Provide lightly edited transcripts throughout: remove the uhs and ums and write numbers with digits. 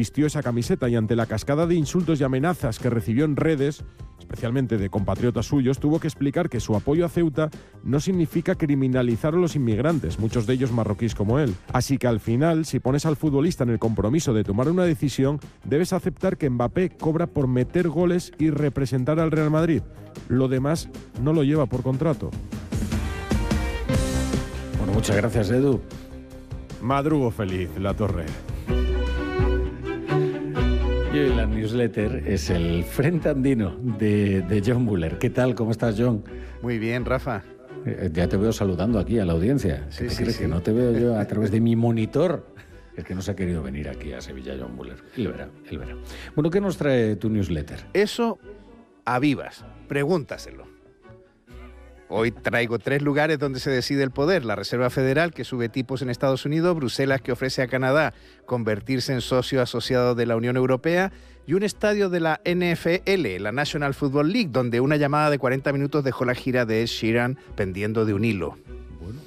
vistió esa camiseta y ante la cascada de insultos y amenazas que recibió en redes, especialmente de compatriotas suyos, tuvo que explicar que su apoyo a Ceuta no significa criminalizar a los inmigrantes, muchos de ellos marroquíes como él. Así que al final, si pones al futbolista en el compromiso de tomar una decisión, debes aceptar que Mbappé cobra por meter goles y representar al Real Madrid. Lo demás no lo lleva por contrato. Bueno, muchas gracias, Edu. Madrugo feliz, La Torre. Y hoy la newsletter es el Frente Andino de John Muller. ¿Qué tal? ¿Cómo estás, John? Muy bien, Rafa. Ya te veo saludando aquí a la audiencia. Sí, ¿Qué te sí, crees? sí. Que no te veo yo a través de mi monitor. Es que no se ha querido venir aquí a Sevilla, John Muller. Él verá. Bueno, ¿qué nos trae tu newsletter? Eso a vivas. Pregúntaselo. Hoy traigo 3 lugares donde se decide el poder. La Reserva Federal, que sube tipos en Estados Unidos, Bruselas, que ofrece a Canadá convertirse en socio asociado de la Unión Europea, y un estadio de la NFL, la National Football League, donde una llamada de 40 minutos dejó la gira de Ed Sheeran pendiendo de un hilo.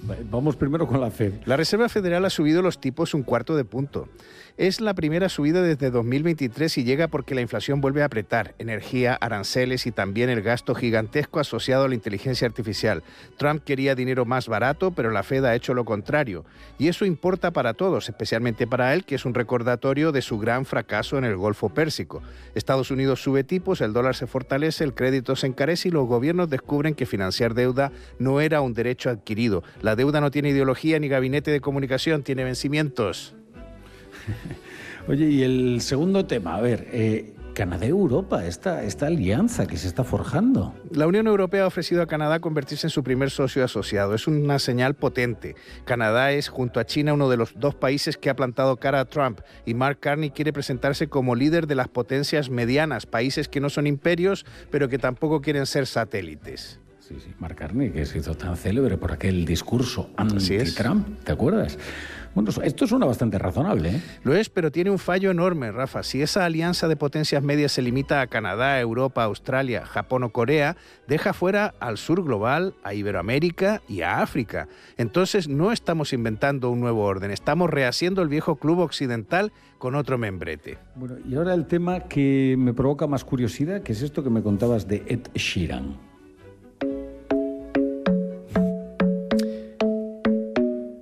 Bueno, vamos primero con la Fed. La Reserva Federal ha subido los tipos 1/4 punto. Es la primera subida desde 2023 y llega porque la inflación vuelve a apretar. Energía, aranceles y también el gasto gigantesco asociado a la inteligencia artificial. Trump quería dinero más barato, pero la Fed ha hecho lo contrario. Y eso importa para todos, especialmente para él, que es un recordatorio de su gran fracaso en el Golfo Pérsico. Estados Unidos sube tipos, el dólar se fortalece, el crédito se encarece y los gobiernos descubren que financiar deuda no era un derecho adquirido. La deuda no tiene ideología ni gabinete de comunicación, tiene vencimientos. Oye, y el segundo tema, a ver, Canadá-Europa, esta alianza que se está forjando. La Unión Europea ha ofrecido a Canadá convertirse en su primer socio asociado. Es una señal potente. Canadá es, junto a China, uno de los 2 países que ha plantado cara a Trump, y Mark Carney quiere presentarse como líder de las potencias medianas, países que no son imperios, pero que tampoco quieren ser satélites. Sí, Mark Carney, que se hizo tan célebre por aquel discurso anti-Trump, ¿te acuerdas? Bueno, esto suena bastante razonable, ¿eh? Lo es, pero tiene un fallo enorme, Rafa. Si esa alianza de potencias medias se limita a Canadá, Europa, Australia, Japón o Corea, deja fuera al sur global, a Iberoamérica y a África. Entonces no estamos inventando un nuevo orden, estamos rehaciendo el viejo club occidental con otro membrete. Bueno, y ahora el tema que me provoca más curiosidad, que es esto que me contabas de Ed Sheeran.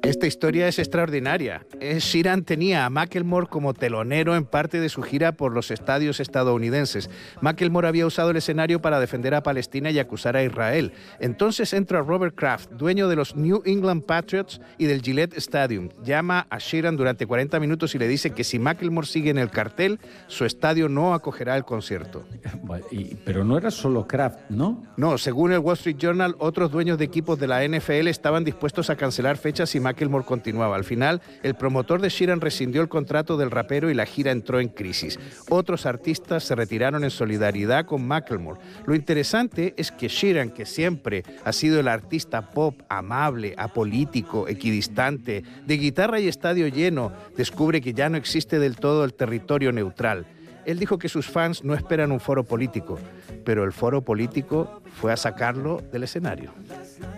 Esta historia es extraordinaria. Sheeran tenía a Macklemore como telonero en parte de su gira por los estadios estadounidenses. Macklemore había usado el escenario para defender a Palestina y acusar a Israel. Entonces entra Robert Kraft, dueño de los New England Patriots y del Gillette Stadium. Llama a Sheeran durante 40 minutos y le dice que si Macklemore sigue en el cartel, su estadio no acogerá el concierto. Pero no era solo Kraft, ¿no? No, según el Wall Street Journal, otros dueños de equipos de la NFL estaban dispuestos a cancelar fechas y Macklemore continuaba. Al final, el promotor de Sheeran rescindió el contrato del rapero y la gira entró en crisis. Otros artistas se retiraron en solidaridad con Macklemore. Lo interesante es que Sheeran, que siempre ha sido el artista pop amable, apolítico, equidistante, de guitarra y estadio lleno, descubre que ya no existe del todo el territorio neutral. Él dijo que sus fans no esperan un foro político, pero el foro político fue a sacarlo del escenario.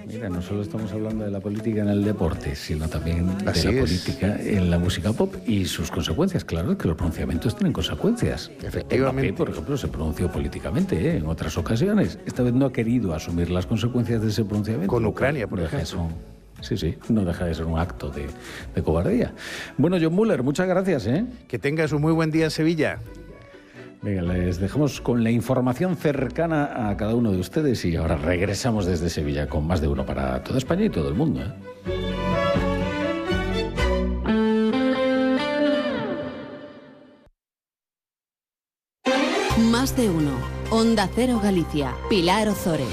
Mira, no solo estamos hablando de la política en el deporte, sino también de Así la es. política en la música pop y sus consecuencias. Claro, es que los pronunciamientos tienen consecuencias. Efectivamente. Mbappé, por ejemplo, se pronunció políticamente en otras ocasiones. Esta vez no ha querido asumir las consecuencias de ese pronunciamiento. Con Ucrania, por ejemplo. Sí, no deja de ser un acto de cobardía. Bueno, John Muller, muchas gracias, ¿eh? Que tengas un muy buen día en Sevilla. Venga, les dejamos con la información cercana a cada uno de ustedes y ahora regresamos desde Sevilla con más de uno para toda España y todo el mundo, ¿eh? Más de uno. Onda Cero Galicia. Pilar Ozores.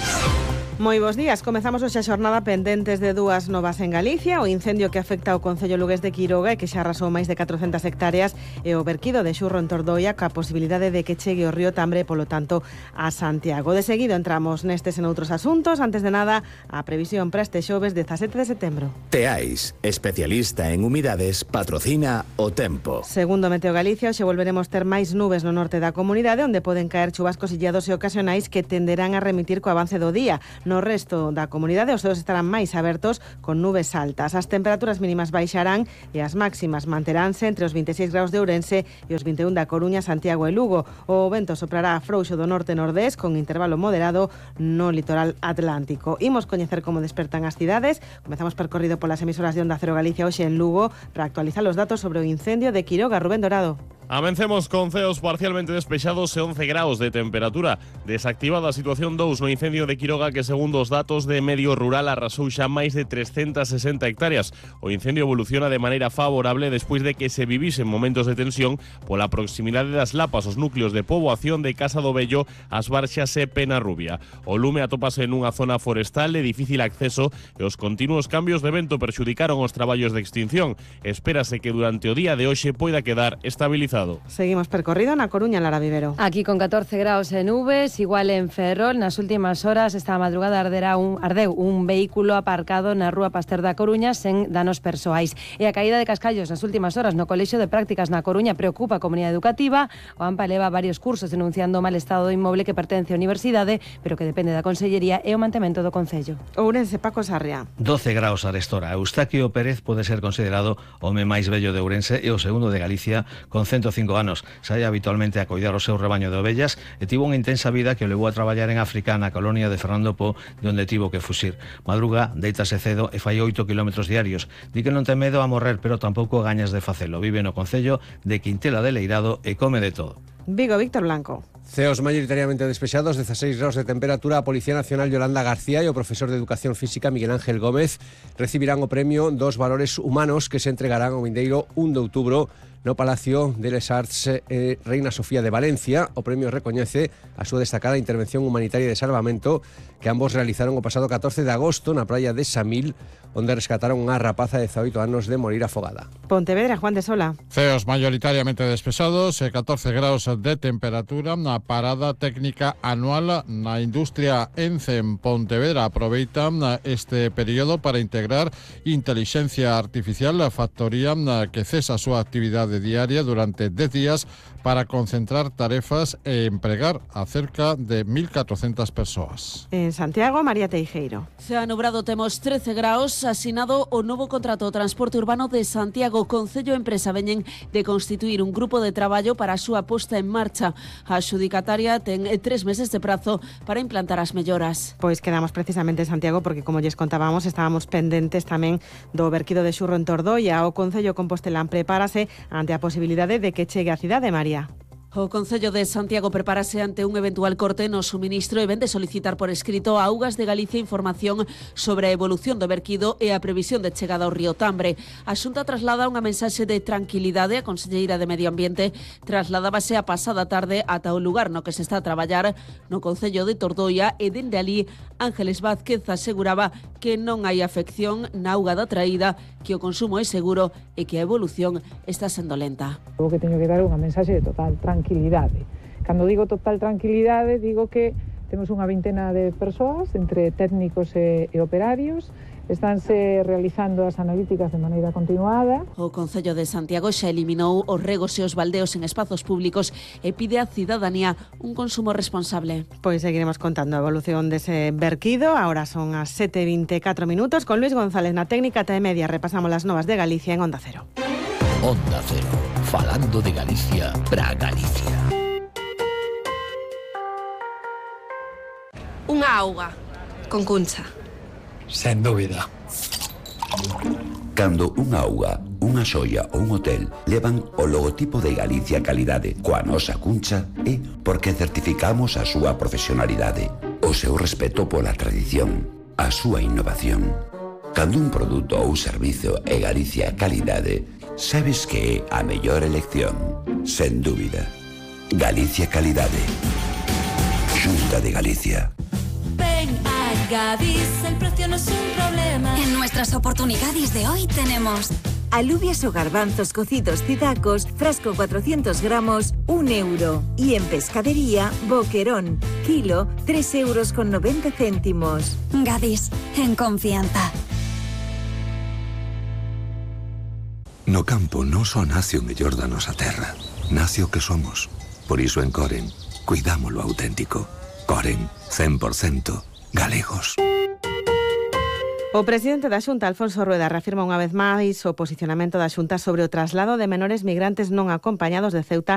Moi bons días. Comezamos hoxe a xornada pendentes de dúas novas en Galicia, o incendio que afecta ao Concello Lugués de Quiroga e que xa arrasou máis de 400 hectáreas e o verquido de Xurro en Tordoia ca posibilidade de que chegue o río Tambre, polo tanto, a Santiago. De seguido entramos nestes en outros asuntos. Antes de nada, a previsión para este xoves 17 de setembro. Teais, especialista en humidades, patrocina o tempo. Segundo Meteo Galicia, hoxe volveremos ter máis nubes no norte da comunidade, onde poden caer chubascos illados e ocasionais que tenderán a remitir co avance do día. No resto da comunidade os ceos estarán máis abertos con nubes altas. As temperaturas mínimas baixarán e as máximas manteránse entre os 26 graus de Ourense e os 21 da Coruña, Santiago e Lugo. O vento soprará frouxo do norte-nordés con intervalo moderado no litoral atlántico. Imos coñecer como despertan as cidades. Comezamos percorrido polas emisoras de Onda Cero Galicia hoxe en Lugo para actualizar os datos sobre o incendio de Quiroga. Rubén Dorado. Amencemos con ceos parcialmente despexados e 11 graus de temperatura. Desactivada a situación 2 no incendio de Quiroga que, segundo os datos de Medio Rural, arrasou xa máis de 360 hectáreas. O incendio evoluciona de maneira favorable despois de que se vivisen momentos de tensión pola proximidade das lapas os núcleos de poboación de Casa do Vello, As Barxas e Penarrubia. O lume atópase nunha zona forestal de difícil acceso e os continuos cambios de vento perxudicaron os traballos de extinción. Espérase que durante o día de hoxe poida quedar estabilizado. Seguimos percorrido na Coruña, Lara Vivero. Aquí con 14 graus e nubes, igual en Ferrol. Nas últimas horas, esta madrugada ardeu un vehículo aparcado na Rúa Pasteur da Coruña sen danos persoais. E a caída de cascallos nas últimas horas no Colexio de Prácticas na Coruña preocupa a comunidade educativa. O AMPA leva varios cursos denunciando o mal estado do inmoble que pertence á universidade, pero que depende da Consellería e o mantemento do Concello. Ourense, Paco Sarria. 12 graus arestora. Eustaquio Pérez pode ser considerado o home máis bello de Ourense e o segundo de Galicia con 105 anos. Saía habitualmente a coidar o seu rebaño de ovellas e tivo unha intensa vida que o levou a traballar en África na colonia de Fernando Po, de onde tivo que fuxir. Madruga, deítase cedo e fai 8 kilómetros diarios. Di que non ten medo a morrer, pero tampouco gañas de facelo. Vive no concello de Quintela de Leirado e come de todo. Vigo, Víctor Blanco. Ceos mayoritariamente despexados, 16 graus de temperatura. A Policía Nacional Yolanda García e o profesor de Educación Física Miguel Ángel Gómez recibirán o premio dos valores humanos que se entregarán o vindeiro 1 de outubro no Palacio de les Arts Reina Sofía de Valencia. O premio recoñece a súa destacada intervención humanitaria de salvamento que ambos realizaron o pasado 14 de agosto na praia de Samil, onde rescataron unha rapaza de 18 anos de morir afogada. Pontevedra, Juan de Sola. Ceos mayoritariamente despesados e 14 graus de temperatura. Na parada técnica anual na industria ENCE en Pontevedra aproveitan este período para integrar intelixencia artificial. A factoría que cesa a súa actividade diaria durante 10 días para concentrar tarefas e empregar a cerca de 1.400 persoas. En Santiago, María Teijeiro. Cea nubrado, temos 13 graus, asinado o novo contrato do transporte urbano de Santiago. Concello e empresa veñen de constituir un grupo de traballo para a súa posta en marcha. A adxudicataria ten 3 meses de prazo para implantar as melloras. Pois quedamos precisamente en Santiago porque, como lles contábamos, estábamos pendentes tamén do verquido de Xurro en Tordoia. O Concello Compostelán prepárase ante a posibilidade de que chegue á cidade, María. O Concello de Santiago prepárase ante un eventual corte no suministro e vén de solicitar por escrito a Augas de Galicia información sobre a evolución do verquido e a previsión de chegada ao río Tambre. A Xunta traslada unha mensaxe de tranquilidade. A Conselleira de Medio Ambiente trasladábase a pasada tarde ata o lugar no que se está a traballar no Concello de Tordoia e dende ali Ángeles Vázquez aseguraba que non hai afección na auga da traída, que o consumo é seguro e que a evolución está sendo lenta. O que teño que dar unha mensaxe de total tranquilidade. Cando digo total tranquilidade, digo que temos unha vintena de persoas, entre técnicos e operarios. Estánse realizando as analíticas de maneira continuada. O Concello de Santiago xa eliminou os regos e os baldeos en espazos públicos e pide á cidadanía un consumo responsable. Pois seguiremos contando a evolución dese verquido. Ahora son as 7:24 minutos. Con Luis González na técnica e media repasamos las novas de Galicia en Onda Cero. Onda Cero, falando de Galicia para Galicia. Unha auga con cuncha. Sen dúbida. Cando unha auga, unha xoia ou un hotel levan o logotipo de Galicia Calidade coa nosa cuncha é porque certificamos a súa profesionalidade, o seu respeto pola tradición, a súa innovación. Cando un produto ou servizo é Galicia Calidade, sabes que é a mellor elección, sen dúbida. Galicia Calidade. Xunta de Galicia. Ven a Gadis, el precio no es un problema. En nuestras oportunidades de hoy tenemos alubias o garbanzos cocidos Cidacos, frasco 400 gramos, 1 euro. Y en pescadería, boquerón, kilo, 3,90 €. Gadis, en confianza. No campo non só nace o mellor da nosa terra, nace o que somos. Por iso en Coren, cuidamos lo auténtico. Coren, 100%, galegos. O presidente da Xunta, Alfonso Rueda, reafirma unha vez máis o posicionamento da Xunta sobre o traslado de menores migrantes non acompañados de Ceuta